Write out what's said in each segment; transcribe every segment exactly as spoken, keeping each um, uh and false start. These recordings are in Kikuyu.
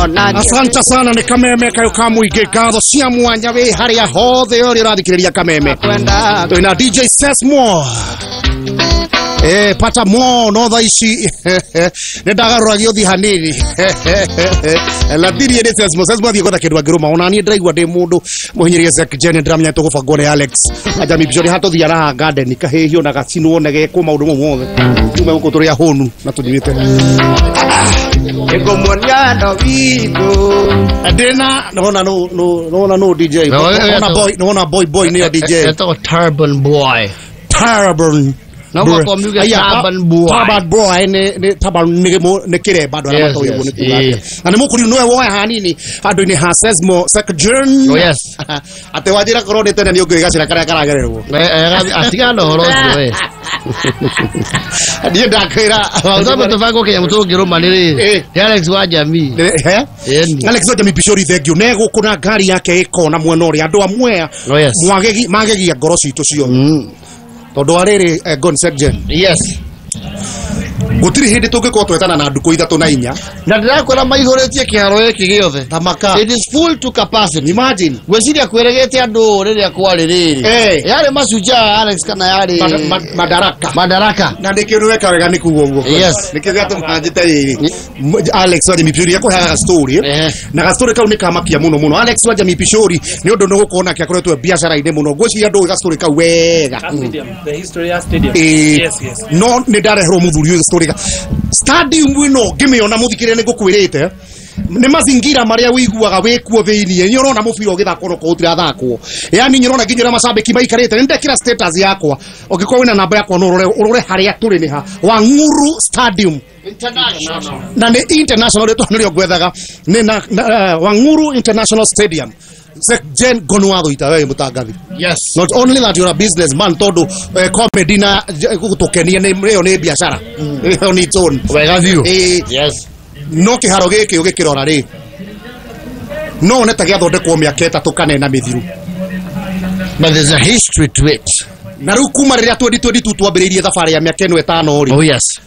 Asante sana nĩ Kameme kayo ka mũingĩ, ngatho cia mwanya wĩ harĩa hothe ũrĩa ũrathikĩrĩria Kameme. Twĩna D J Sesmo. Eh, pata mo no thaa ici nĩ ndagarũragia ũthi hanini lathirie nĩ Sesmo. Sesmo athiĩ gwetha kĩndũ angĩrũma. Ona niĩ ndĩraigua ndĩ mũndũ mũhinyĩrĩrie Zek Jen, ndĩramenya tũgũbangwo nĩ Alex Ajami Bishori hatũthiara haha garden kahĩhio na gacinwo na gekwo maũndũ mau mothe tume gũkũ tũrĩ ahũnu na tũnyuĩte. Nĩngũmuonia ndo witũ. Ndĩna nona no no nona no D J. No, eh, nona eh, boy, nona boy boy nĩyo D J. Etagwo Turban Boy. Turban. No mwaka miuge Aya, Turban Boy. Turban Boy nĩ nĩ turban nĩ gĩmũ- nĩ kĩremba andũ arĩa Yes, matoĩ yes, ũguo nĩ kuga eh. atĩa. Na nĩ mũkũriu nĩwe woya hanini handũ-inĩ ha Sesmo Sekjern. Oh, yes. Atĩ wanjĩra korwo nĩ tene nĩ ũngĩũĩ gacĩra karĩa karagererwo. Eh, eh, atigana na ũhoro ũcio we. Niĩ ndakwĩra. Tũthambe tũbango kĩnyamũ tũngĩrũma nĩ rĩrĩ. Eh. Nĩ Alex wa Jamii. He? Ĩni. Alex wa Jamii Bishori, thank you. Ne gũkũ na ngari yake ĩkona mwena ũrĩa andũ a Mwea Oh, yes. mwagegi magegia ngoro citũ ciothe Mm. tondũ wa rĩrĩ eh, Gon Sekjen, Yes. gũtirĩ hĩndĩ tũngĩkorwo twetana na ndukũ ithatũ na inya. Na ndĩrakwĩra maihũrĩtie kĩharo gĩkĩ gĩothe. Thamaka. It is full to capacity. Imagine. Ngwĩciria kwĩrĩgĩte andũ rĩrĩa kwarĩ rĩrĩ. Eh. Yarĩ Mashujaa Alex kana yarĩ Mad- ma- Madaraka. Madaraka. Na nĩkĩo nĩ weka wega nĩ kuga ũguo. Yes. Nĩkĩo gĩatũma njĩte rĩrĩ M- Alex wa Jamii Bishori akũheaga story. Ehe. Na gastori kau nĩ kamakia mũno mũno Alex wa Jamii Bishori nĩ ũndũ nĩ gũkorwo nake akoretwo biacara-inĩ mũno. Ngwĩciria ndũĩ gastori kau wega. Stadium, the history ya stadium. Ĩĩ. Yes, yes. No nĩ ndareherwo mũthuri ũyũ story ga stadium ĩno ngĩmĩona, mũthikĩrĩria, nĩ ngũkwĩrĩte nĩ mazingira marĩa wĩiguaga wĩkuo thĩiniĩ. Nĩ ũrona mũbira ũgĩthakwo no korwo ũtirathakwo, yani nĩ ũrona nginya ũrĩa macambĩki maikarĩte. Nĩ ndekĩra status yakwa, ũngĩkorwo wĩna namba yakwa no ũrore ũrore harĩa tũrĩ nĩ ha Wang'uru Stadium. International. Na nĩ international, rĩtwa nĩrĩo ngwethaga nĩ na, na uh, Wang'uru International Stadium. Jen Gonwatho ita wewe mũtangathi. Yes. Not only that you're a businessman, tondu eh, comedy na gũtũkenia nĩ ĩyo nĩ biacara ĩyo nĩ its own. Wega biũ. Ĩĩ. Yes. No kĩharo gĩkĩ ũgĩkĩrora rĩ, no one ta gĩathondekwo mĩaka ĩtatũ kana ĩna mĩthiru. But there's a history to it. Na rĩu kuma rĩrĩa twenty twenty-two twambĩrĩirie thabarĩ ya mĩaka ĩno ĩtano rĩ, Oh yes.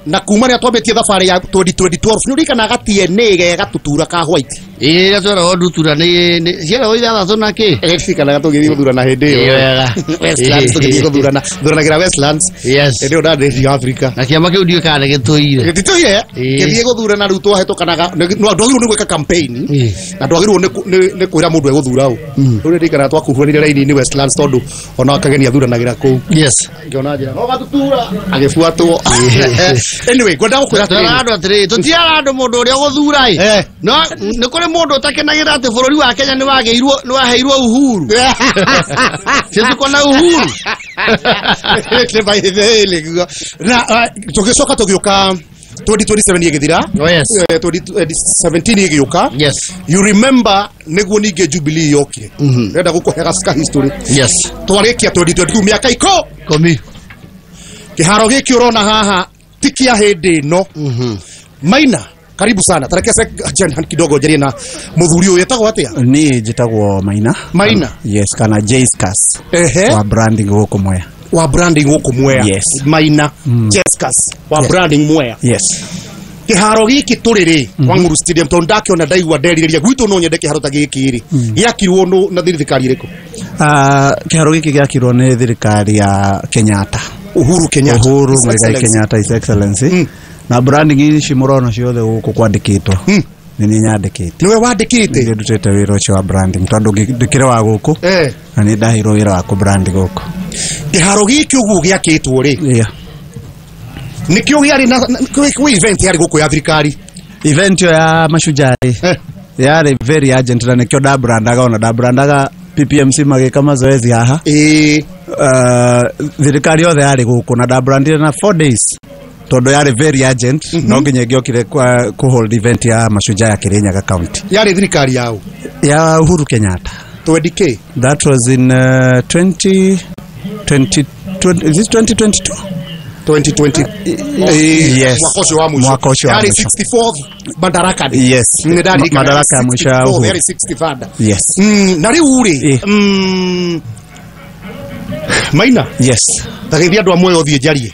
na kuma rĩrĩa twambĩtie thabarĩ ya twenty twelve, nĩ ũririkanaga T N A ge gatutura ka white? Ĩĩ, rĩrĩa tweragwo ndutura nĩ nĩ- ciaragwo ithathatũ na kĩ? Ririkanaga tũgĩthiĩ gũthurana hĩndĩ Ĩĩ, ĩyo wega. Westlands, tũgĩthiĩ gũthurana thuranagĩra Westlands. Yes. Hĩndĩ ĩyo ndarĩ Africa. Na kĩama kĩu ndiũĩ kana nĩ gĩtũire. Gĩtitũire. Ĩĩ. Gĩthiĩ gũthurana rĩu twahĩtũkanaga, ndwagĩrĩirwo nĩ gwĩka campaign Ĩĩ. na ndwagĩrĩirwo nĩ kũ- nĩ nĩ kwĩra mũndũ egũthura ũ. Rĩu nĩndirikanaga twakuruhanire raini-inĩ Westlands tondũ ona Kageni athuranagĩra kũu. Yes. Ngĩona njĩra no gatutura agĩbuatwo. Anyway, ngwenda gũkwĩra Twĩra atĩrĩrĩ. Andũ atĩrĩrĩ, tũtiara andũ mũndũ ũrĩa ũgũthura ĩ. Eh. No nĩ kũrĩ mũndũ ũtakenagĩra atĩ bũrũri wa Kenya nĩ wagĩirwo nĩ waheirwo uhuru. Sisi tuko na uhuru. Nĩ by the way, nĩguo. Na ah, tũgĩcoka tũgĩũka twenty twenty-seven ĩgĩthira. Oh yes. Eh, twenty seventeen ĩgĩũka. Yes. You remember nĩguo ningĩ Jubilee yokire. Ndĩrenda gũkũhe ka history. Yes. Twarĩkia twenty twenty-two, mĩaka iko Komi. Kĩharo gĩkĩ ũrona haha ti kĩa hĩndĩ ĩno. Maina, karibu sana. Tareke se kidogo njarie na mũthuri ũyũ etagwo atĩa? Niĩ njĩtagwo Maina. Maina. Yes, kana Jaiscas. Ehe. Wa branding gũkũ Mwea. Wa branding gũkũ Mwea. Yes. Maina Jescas wa Yes. branding Mwea. Yes. Kĩharo gĩkĩ tũrĩ rĩ, Wang'uru Stadium, tondũ ndakĩona ndaigua nderirĩria gwitũ no nyende kĩharo ta gĩkĩ rĩ, gĩakirwo nũ na thirikari ĩrĩkũ? Ah, kĩharo gĩkĩ gĩakirwo nĩ thirikari ya Kenyatta. Uhuru Kenyatta. Uhuru His Muigai Excellency. Kenyatta, His Excellency. Mm. Na branding ici mũrona ciothe gũkũ kwandĩkĩtwo Mm. nĩ niĩ nyandĩkĩte. Nĩwe wandĩkĩte? Nĩ ndutĩte wĩra ũcio wa branding tondũ ngĩ- ndĩkĩrĩ wa gũkũ Eh. na nĩ ndaheirwo wĩra wa kũ brand gũkũ. Kĩharo gĩkĩ ũguo gĩakĩtwo rĩ, Yeah. nĩkĩo gĩarĩ na na- kwĩ kwĩ event yarĩ gũkũ ya thirikari? Event ĩyo ya Mashujaa rĩ, Eh. yarĩ very urgent na nĩkĩo ndabrandaga, ona ndabrandaga P P M C magĩka mazoezi haha. Ĩĩ. Uh, thirikari yothe yarĩ gũkũ na ndabrandire na four days tondũ yarĩ very urgent, no nginya ĩngĩokire kwa- kũ hold event ya Mashujaa ya Kirinyaga County. Yarĩ thirikari yao? Ya Uhuru Kenyatta. twenty k. That was in uh, twenty, twenty, twenty, is it twenty twenty-two? twenty twenty. Eh, Yes. mwaka ũcio wa mũico. Mwaka ũcio wa Yarĩ mũico. sixty-fourth Madaraka Day. Yes. Nĩ ndarikana. Madaraka ya mũico ya sixty-fourth, Uhuru. yarĩ sixty-third. Yes. Mm, na rĩu rĩ, Eh. mm, Maina, Yes. ta gĩthiĩ andũ a muoyo ũthiĩ njarie.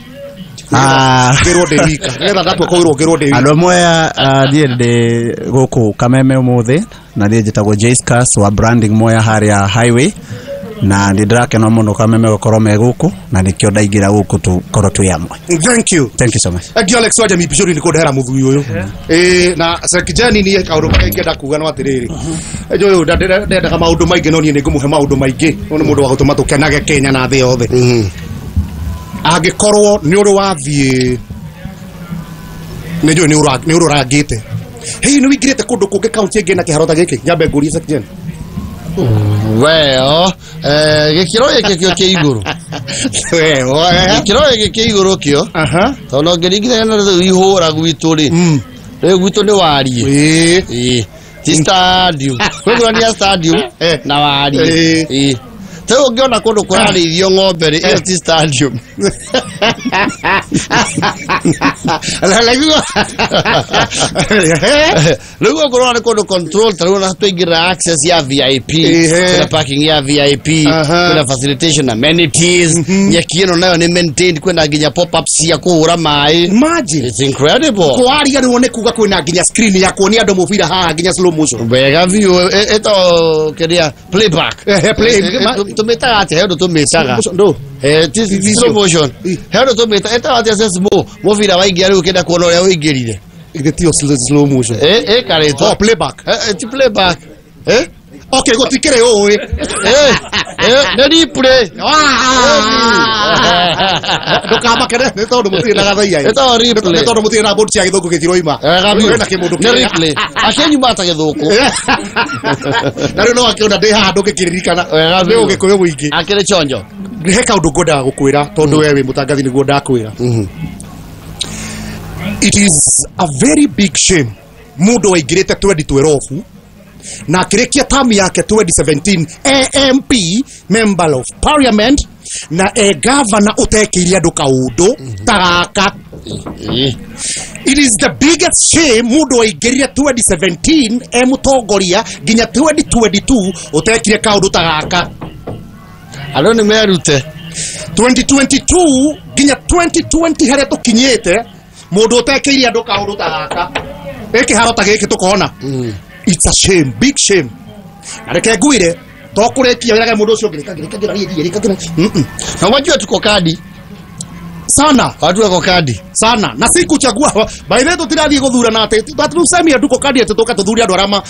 Ah. Ngĩrwo ndĩ wika. Nĩgetha ndatua kũirwo ngĩrwo ndĩ wika. Andũ Mwea, niĩ ndĩ gũkũ Kameme ũmũthĩ na niĩ njĩtagwo Jayscars wa Branding Mwea harĩa highway, na nĩ ndĩrakena mũno Kameme gũkorwo me gũkũ na nĩkĩo ndaingĩra gũkũ tũkorwo twĩ amwe. Thank you. Thank you so much. Thank you Alex wa Jamii Pishori nĩ kũndehera mũthuri ũyũ. Ĩĩ na Sekijani niĩ kaũndũ karĩa ingĩenda kuga no atĩrĩrĩ. Ũyũ ndendaga maũndũ maingĩ no niĩ nĩ ngũmũhe maũndũ maingĩ. Ũyũ nĩ mũndũ wa gũtũma tũkenage Kenya na thĩ yothe. Angĩkorwo nĩ ũrĩ wathiĩ nĩ njũĩ nĩ ũrĩ ũrangĩte. Hihi nĩ wĩingĩrĩte kũndũ kũngĩ kaunti ĩngĩ na kĩharo ta gĩkĩ? Nyambe ngũrie Sekijani. Well, eh gĩkĩro gĩkĩ kĩo kĩ igũrũ. Gĩkĩro gĩkĩ kĩ igũrũ kĩo. Aha. Tondũ ngĩringithania na rĩu ihũra gwitũ rĩ. Rĩu gwitũ nĩ wariĩ. Ĩĩ. Ti stadium. Kwĩgũrania stadium na wariĩ. Ĩĩ. Rĩu ũngĩona kũndũ kũrarĩithio ng'ombe rĩ, ĩyo ti stadium. Rĩu ũngĩrora nĩ kũndũ control, ta rĩu ona twaingĩra access ya V I P, kwĩna parking ya V I P, kwĩna facilitation amenities, nyeki ĩno nayo nĩ maintained, kwĩna nginya pop-ups cia kũhũra maĩ. Imagine. It's incredible. Kwaria rĩu nĩ kuga kwĩna nginya screen ya kuonia andũ mũbira haha nginya slow motion. Wega biũ, ĩtagwo kĩrĩa playback. Play Tũmĩtaga atĩa? He ũndũ tũmĩtaga. Ndũ? Eh, ti slow motion. He ũndũ tũmĩtaga ĩtagwo atĩa Sesmo? Mũbira waingĩra rĩu ũkĩenda kuona ũrĩa ũingĩrire. Githĩ tiyo slow motion? Eh, eh, karĩtwa. Oh, playback. Eh, ti playback. Eh? Okay, gũtikĩrĩ ũĩ. Eh, eh, nĩ replay. Ndũkamakere nĩ tondũ mũtirĩ na gathaia. Ĩtagwo replay. Nĩ tondũ mũtirĩ na board cia gĩthũngũ gĩtiroima. Wega biũ. Wĩna kĩmũndũ Nĩ replay. Akĩnyuma ta gĩthũkũ. Na rĩu no akĩona ndĩ haha ndũngĩkĩririkana. Wega Nĩ biũ. ũgĩkũyũ mũingĩ. Akĩrĩ chonjo. He kaũndũ ngwendaga gũkwĩra tondũ we wĩ mũtangathi nĩguo ndakwĩra. It is a very big shame mũndũ waingĩrĩte twenty twelve na akĩrĩkia term yake twenty seventeen A M P member of parliament na e governor ũtekĩire andũ kaũndũ ta gaka. It is the biggest shame mũndũ waingĩrire twenty seventeen e mũtongoria nginya twenty twenty-two ũtekire kaũndũ ta gaka. Andũ nĩ merute. twenty twenty-two nginya twenty twenty harĩa tũkinyĩte mũndũ ũtekĩire andũ kaũndũ ta gaka. Ĩkĩharo ta gĩkĩ tũkona. It's a shame, big shame. Na reke ngwire to kũrĩkia wĩrage mũndũ ũcio ũngĩ rĩka ngĩra rĩka ngĩra. Na wajua tuko kadi sana. Watu wako kadi sana na si kuchagua. By the way tũtirathiĩ gũthurana atĩ tũsemia nduko kadi atĩ tũka tũthure andũ arĩa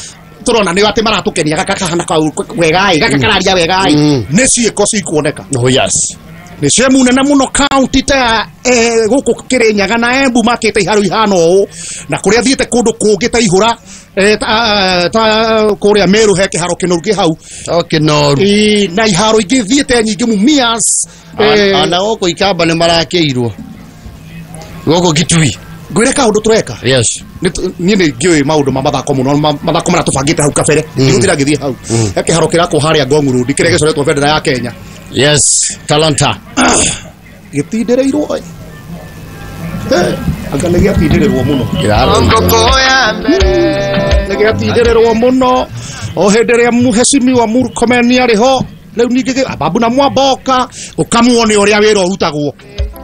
tũrona nĩ atĩ maratũkenia gaka kahana kau wegai gaka kararia wegai nĩ ciĩko cikuoneka. Oh yes. Nĩ shame nene mũno county ta gũkũ Kĩrĩnyaga na Embu makĩte iharo ihana ũũ na kũrĩa thiĩte kũndũ kũngĩ ta Ihũra ta kũrĩa Meru he kĩharo kĩnoru kĩ hau. O kĩnoru. Na iharo ingĩ thiĩte nyingĩ Mumias. Ona gũkũ Ikamba nĩ marakĩirwo. Gũkũ Kitui. Ngwĩre kaũndũ tũreka. Yes. Niĩ nĩ ngĩũĩ maũndũ ma mathako mũno, mathako marĩa tũbangĩte hau kabere. Ndigũtira ngĩthiĩ hau. He kĩharo kĩrakwo harĩa Ngong Road kĩrĩa gĩcoretwo bendera ya Kenya. Yes, talanta. Gĩtindĩrĩirwo. Eh, anga nĩ gĩatindĩrĩrwo mũno. Nĩ gĩatindĩrĩrwo mũno. O hĩndĩ ĩrĩa mũhecimiwa Murkomen arĩ ho, rĩu ningĩ Ababu na Mwamboka, ũkamuone ũrĩa wĩra ũrutagwo.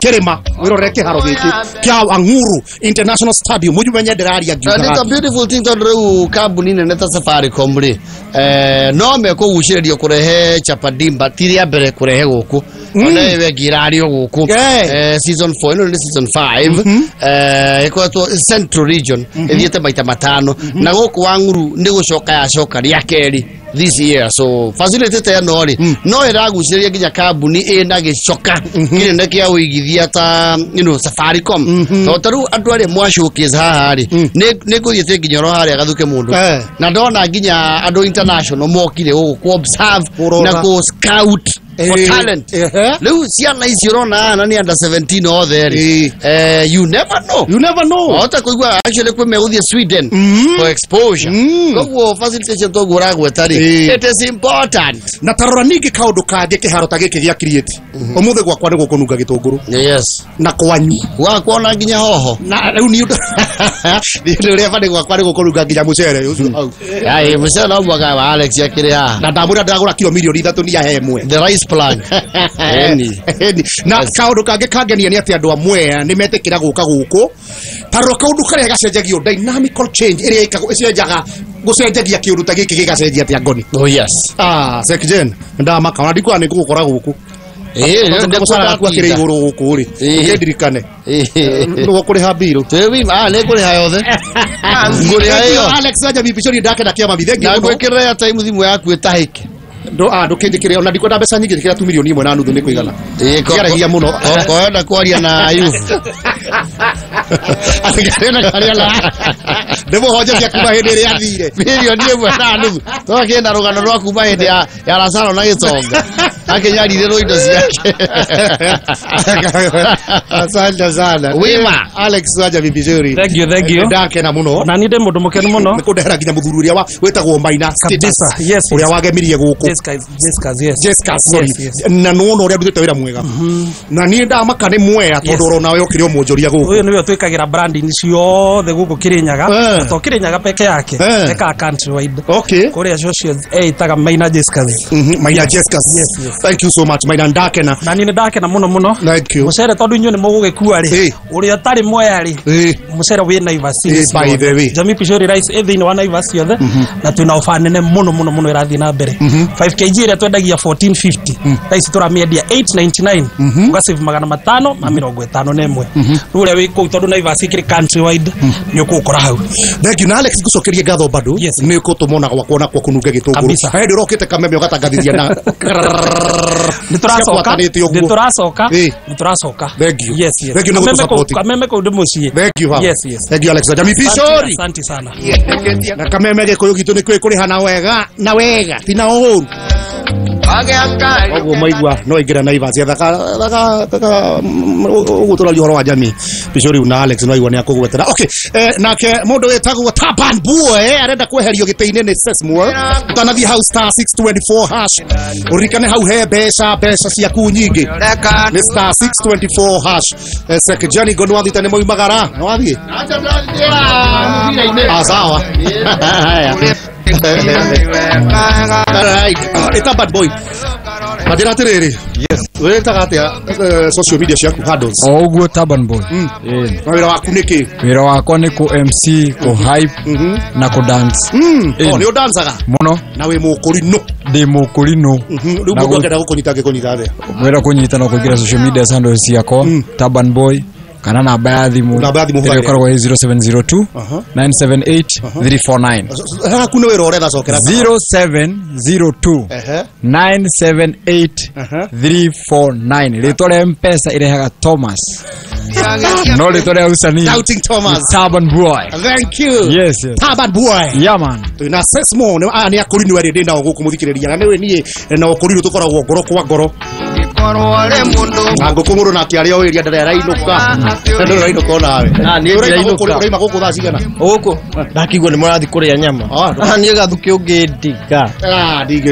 Kĩrĩma, wĩrorere kĩharo gĩkĩ kĩa Ang'uru International Stadium. Mũjumenye ndĩraria ngiugaga. It's a beautiful thing tondũ rĩu kambuni nene ta Safaricom rĩ, eh, no mekũgucĩrĩrio kũrehe Chapadimba ti rĩa mbere kũrehe gũkũ. Ona ĩyo ĩngĩ ĩrario gũkũ. Eh, season four, ĩno nĩ season five. Eh, ĩkoretwo Central Region ĩthiĩte maita matano na gũkũ Wang'uru nĩ gũcoka yacoka rĩa kerĩ this year. So facility ta ĩno rĩ no ĩragucĩrĩria nginya kambuni ĩna gĩcoka kĩnene kĩa ũigithia ta you know Safaricom. Tondũ ta rĩu andũ arĩa mwa showcase haha rĩ nĩ ngũthiĩte nginya oro harĩa gathuke mũndũ na ndona nginya andũ international mokire gũkũ kũ observe na kũ scout for talent. Rĩu ciana ici ũrona haha na nĩ under seventeen othe rĩ, eh, you never know. You never know. Wahota kũigua actually kwĩ megũthiĩ Sweden for exposure. Koguo facilitation toguo ũragweta rĩ, it is important. Na tarora ningĩ kaũndũ kangĩ kĩharo ta gĩkĩ gĩa create. Ũmũthĩ gwakwa nĩ gũkũnunga gĩtũngũrũ. Yes. Na kwanyu. Gwakwa ona nginya hoho. Na rĩu nĩ ũndũ nĩ ũndũ ũrĩa bani gwakwa nĩ gũkũnunga nginya mũcere ũcio hau. Ai, mũcere no mwaka wa Alex akĩrĩ haha. Na ndamwĩra ndagũra kiro mirioni ithatũ nĩ ahe ĩmwe. The rice plan. Eni. Eni. Na kaundu kangi kangenia ni ati andu amwe ni metikira guka guku tarora kaundu karia gacenjagio dynamical change iria ikago icenjaga gucenjagia kiundu ta giki gigacenjia atia ngoni. Oh yes. Ah Sekjen ndamaka ona ndikwa ni ngugukora guku. Eh ndikũcaraga kwa kiri iguru guku ri ndirikane niguo kuriha biru twĩ ah nĩ ngũrĩha yothe ngũrĩha ĩyo Alex aja bibicori ndakenda kĩama bi thank you na ngwĩkĩrĩra ya time thimũ yaku ĩtahĩke ndo ah ndũkĩnjĩkĩre ona ndikwenda mbeca nyingĩ njĩkĩra tu milioni ĩmwe na nuthu nĩ kũigana ĩĩ ngeragia mũno koenda kwaria na Ayubu atigana kwaria na ndĩmũhonjeria kuma hĩndĩ ĩrĩa athire milioni ĩmwe na nuthu twakĩenda rũgano rwa kuma hĩndĩ ya ya Lazaro na gĩtonga akĩnyarirĩrwo indo ciake. Asante sana wima Alex aja bibicori. Thank you, thank you. Ndakena mũno na niĩ ndĩ mũndũ mũkenu mũno nĩ kũndehera nginya mũthuri ũrĩa wĩtagwo Maina kabisa. Yes, ũrĩa wagemirie gũkũ Jessica, Jessica, yes. Jessica, sorry. Yes, yes. Na nuona ũrĩa ndutĩte wĩra mwega na niĩ ndamaka nĩ mwea tondũ ũrona we ũkĩrĩ o mũnjũria gũkũ ũyũ nĩwe twĩkagĩra branding ciothe gũkũ Kirinyaga to Kirinyaga peke yake eka country wide. Okay. Kũrĩa social ĩtaga Maina Jessica. Maina Jessica. Yes, yes. Thank you so much Maina ndakena na niĩ nĩ ndakena mũno mũno. Thank you. Mũcere tondũ inyuĩ nĩ mũgũgĩkua rĩ ũrĩa ũtarĩ mwea rĩ mũcere wĩ Naivas. By the way Jamii Pishori rice ĩ thĩinĩ wa Naivas ciothe na twĩna ofa nene mũno mũno mũno ĩrathiĩ na mbere. five kg ĩrĩa twendagia fourteen fifty thaa ici tũramĩendia eight ninety nine ũgasave magana matano ma mĩrongo ĩtano na ĩmwe rĩu ũrĩa wĩ kũu tondũ Naivas ĩkĩrĩ country wide nĩ ũkũũkora hau. Thank you na Alex ngũcokerie ngatho bado nĩ ũkũtũmona gwakwa na kwa kũnunga gĩtũngũrũ hĩndĩ ũrokĩte kameme ũgatangathithia na nĩ tũracoka nĩ tũracoka nĩ tũracoka. Thank you. Yes, yes. Thank you na gũtũsupport. Kameme kũu ndĩ mũciĩ. Thank you. Yes, yes. Thank you Alex Jamii Pishori. Asante sana. Na kameme gĩkũyũ gitũ nĩ kwĩ kũrĩha na wega na wega ti na ũũru. Koguo maigua no ingĩra Naivas thaka thaka ũguo tũraria ũhoro wa Jamii Pishori na Alex no aigua nĩ akũgwetera. Okay, nake mũndũ wĩtagwo Taban Boy arenda kweherio gĩtĩ-inĩ nĩ Sesmore ũtanathiĩ hau star six twenty four hash ũririkane hau he mbeca mbeca ciaku nyingĩ nĩ star six twenty four hash. Sekjani ngo nĩwathiĩte nĩ moimagara nĩwathiĩ ah sawa. Alright, it's a bad boy. Madira atiriri. Yes. Wĩtaga atĩa social media ciaku handles? O ũguo Taban Boy. Eh. Na wĩra waku nĩ kĩ? Wĩra wakwa nĩ kũ M C, kũ hype na kũ dance. Oh, nĩ ũdancaga? Mũno. Na wĩ mũkũrinũ? Ndĩ mũkũrinũ. Rĩu mũndũ angĩenda gũkũnyita angĩkũnyita atĩa? Wĩra kũnyita no kũingĩra social media handles ciakwa Taban Boy kana namba ya thimu namba ya thimu ĩrĩa ĩkoragwo ĩ zero seven zero two nine seven eight three four nine. Haku nĩ wĩra ũretha cokera zero seven zero two nine seven eight three four nine. Rĩtwa rĩa M-Pesa ĩrehaga Thomas no rĩtwa rĩa usanii Doubting Thomas Taban Boy. Thank you. Yes, yes. Taban Boy. Yeah man. Twĩna Sesmo nĩ aya nĩ akũrinũ erĩ ndĩ nao gũkũ mũthikĩrĩria na nĩwe niĩ na ũkũrinũ tũkoragwo ngoro kwa ngoro na ngũkũ mũndũ nake arĩa oĩria ndarĩa arainũka ndũrĩ ũrainũka onawe ũraima gũkũ thaa cigana gũkũ ndakigua nĩ mũrathiĩ kũrĩa nyama niĩ gathukĩ ũngĩndiga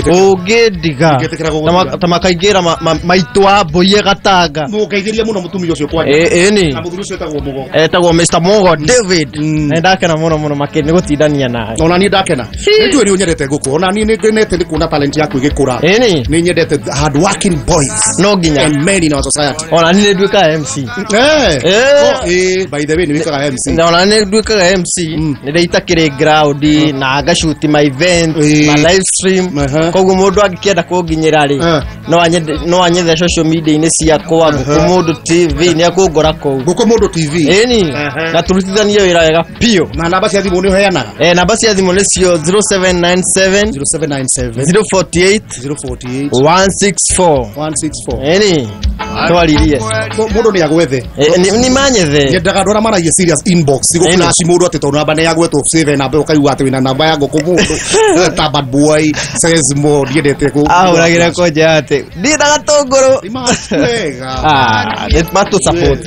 ũngĩndiga ta makaingĩra maitũ wa mbũi gatanga mũkaigĩria mũno mũtumia ũcio kwanja ĩni na mũthuri ũcio etagwo Mũgo etagwo Mister Mũgo David na ndakena mũno mũno makĩria nĩ gũtindania nawe ona niĩ ndakena nĩ njũĩ nĩ ũnyendete ngũkũ ona niĩ nĩ ngenete nĩ kuona talent yaku ĩgĩkũra ĩni nĩ nyendete hard working boys no nginya and men in our society ona niĩ nduĩkaga M C eh oh eh by the way nĩ wĩkaga M C na ona niĩ nduĩkaga M C nĩ ndĩitakĩrĩ ground na ngashoot my event ma live stream koguo mũndũ angĩkĩenda kũnginyĩra rĩ no anyende no anyethe social media-inĩ ciakwa Ngũkũ Mũndũ T V nĩ akũngora kũu Ngũkũ Mũndũ T V ĩni na tũrutithanie wĩra wega biũ na namba cia thimũ nĩ ũheanaga eh namba cia thimũ nĩcio zero seven nine seven zero seven nine seven zero four eight zero four eight one six four one six four ĩni twaririe mũndũ nĩ agwethe nĩ manyethe nyendaga andũ arĩa maragia serious inbox gũflash mũndũ atĩ tondũ namba nĩ yagwetwo save namba ũkaigua atĩ wĩna namba ya Ngũkũ Mũndũ Taban Boy Sesmo ndiendete kũ ahũragĩra kũnja atĩ ndiĩ na gatũngũrũ wega ah nĩ matũ support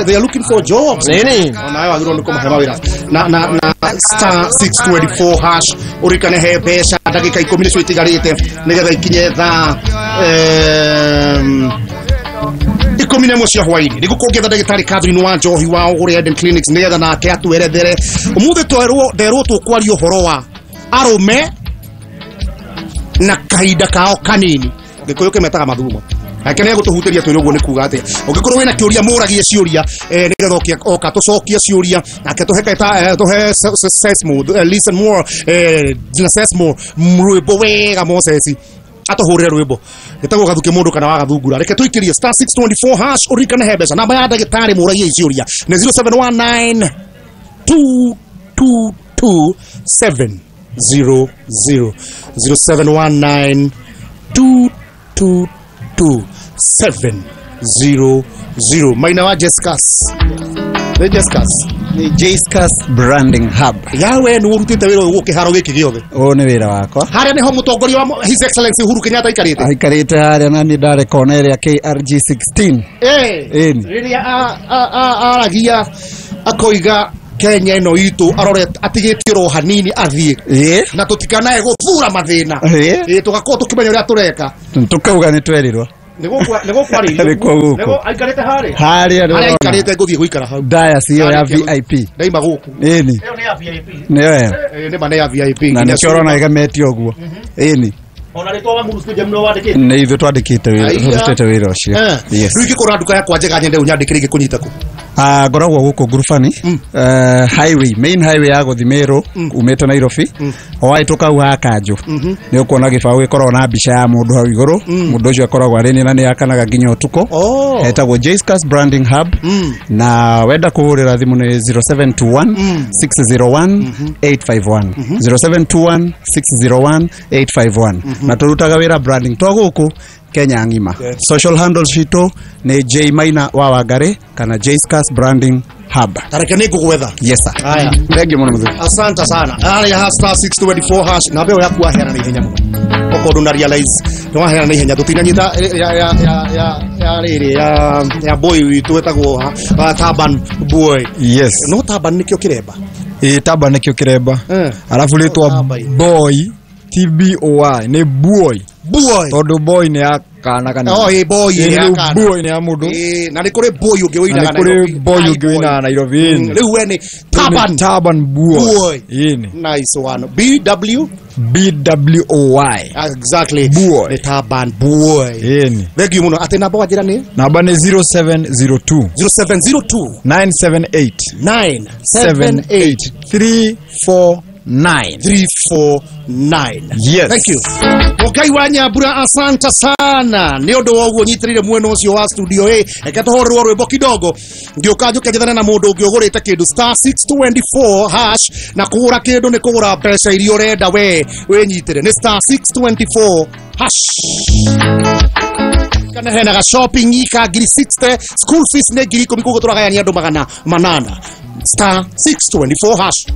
they are looking for jobs nini onawe wagĩrĩirwo nĩ kũmahe mawĩra na na na star six twenty four hash ũririkane he mbeca ndagĩka ikũmi nĩcio itigarĩte nĩgetha ikinye thaa ikũmi na ĩmwe cia hwaĩ-inĩ nĩguo kũngĩetha ndagĩtarĩ Catherine wa Njohi wa Ũgũrĩ Eden Clinics nĩgetha nake atwerethere ũmũthĩ twerwo nderwo tũkwaria ũhoro wa arũme na kahinda kao kanini Gikuyu kimetaga mathugumo. Nake nĩ egũtũhutĩria twĩre ũguo nĩ kuga atĩa. Ũngĩkorwo wĩna kĩũria mũragie ciũria eh, nĩgetha oka tũcokie ciũria nake tũhe kaita tũhe Sesmo listen more eh, na Sesmo rwĩmbo wega Moses atũhũrĩre rwĩmbo gĩtagwo gathuke mũndũ kana wagathungura. Reke tũikĩrie star six two four hash ũririkane he mbeca. Namba ya ndagĩtarĩ mũragie ciũria nĩ zero seven one nine two two two seven zero zero zero seven one nine two two two seven zero zero. Maina wa Jessicas. Nĩ Jessicas. Nĩ Jessicas Branding Hub. Yawe nĩ ũrutĩte wĩra ũyũ kĩharo gĩkĩ gĩothe. Ũyũ nĩ wĩra wakwa. Harĩa nĩho mũtongoria wa His Excellency Uhuru Kenyatta aikarĩte. Aikarĩte harĩa na niĩ ndarĩ kona ĩrĩa K R G sixteen. Eh. Rĩrĩa aragia akoiga Kenya ĩno itũ arore atigĩtie ro hanini athiĩ na tũtikanae gũthura mathĩna. Ĩĩ tũgakorwo tũkĩmenya ũrĩa tũreka. Tũkauga nĩ twerirwo. Nĩgũkwa nĩgũkwarĩrio. Nĩgũ aikarĩte harĩa. Harĩa nĩ aikarĩte ngũthiĩ gũikara hau. Dais ĩyo ya V I P. Ndaima gũkũ. Ĩni. Ĩyo nĩ ya V I P. Nĩyo ĩyo. Ĩĩ nĩ ma nĩ ya V I P. Na nĩkĩo ũrona ĩgemetio ũguo. Ĩni. Ona rĩtwa wa Muru Stadium nĩwe wandĩkĩte. Nĩ ithuĩ twandĩkĩte wĩra, tũrutĩte wĩra ũcio. Yes. Rĩu ingĩkorwo nduka yakwa njega nyende ũnyandĩkĩre ingĩkũnyita kũ? Ah, ngoragwo gũkũ Ngurubani, highway, main highway ya gũthiĩ Meru umĩte Nairobi. O wahĩtũka hau ha Kanjũ nĩ ũkuona gĩbaũ gĩkoragwo na mbica ya mũndũ hau igũrũ. Mũndũ ũcio akoragwo arĩ niĩ na nĩ akanaga nginya ũtukũ. Etagwo Jessicas Branding Hub. Na wenda kũhũrĩra thimũ nĩ zero seven two one six zero one eight five one zero seven two one six zero one eight five one. Na tũrutaga wĩra branding to gũkũ Kenya ng'ima. Social handles citũ nĩ J Maina wa Wangari kana Jessicas Branding Hub. Tareke nĩ ngũgwetha. Yes sir. Haya. Thank you mũno mũthuri. Asante sana. Harĩa star six two four hash na mbeo yaku waheana na ihenya mũno. Okorwo ndũna realize nĩ waheana na ihenya tũtinanyita ya ya ya ya ya rĩrĩ ya ya boy witũ wetagwo Taban Boy. Yes. No Taban nĩkĩo kĩremba. Ĩĩ Taban nĩkĩo kĩremba. Alafu rĩtwa boy T B O Y nĩ boy. Boy. Tondũ boy nĩ ya kana kana. Oh, ĩ boy nĩ ya kana. Boy nĩ ya mũndũ. Ĩ na nĩ kũrĩ boy ũngĩ ũinaga Nairobi. Nĩ kũrĩ boy ũngĩ ũinaga Nairobi. Rĩu we nĩ Taban. Taban Boy. Boy. Ĩni. Nice one. B W B W O Y. Exactly. Boy. Nĩ Taban Boy. Ĩni. Thank you mũno. Atĩ namba wanjĩra nĩ? Namba nĩ zero seven zero two zero seven zero two nine seven eight nine seven eight three four nine three four nine. Yes. Thank you. Mugai wa Nyambura asante sana nĩ ũndũ wa ũguo nyitirire mwena ũcio wa studio A. Reke tũhũrĩrwo rwĩmbo kidogo ngĩũka njũke njethane na mũndũ ũngĩ ũgũrĩte kĩndũ star six two four hash na kũgũra kĩndũ nĩ kũgũra mbeca iria ũrenda we wĩnyitĩre nĩ star six two four hash. Kana hena ga shopping ka ngiri sixty school fees nĩ ngiri ikũmi koguo tũragayania andũ magana manana star six two four hash.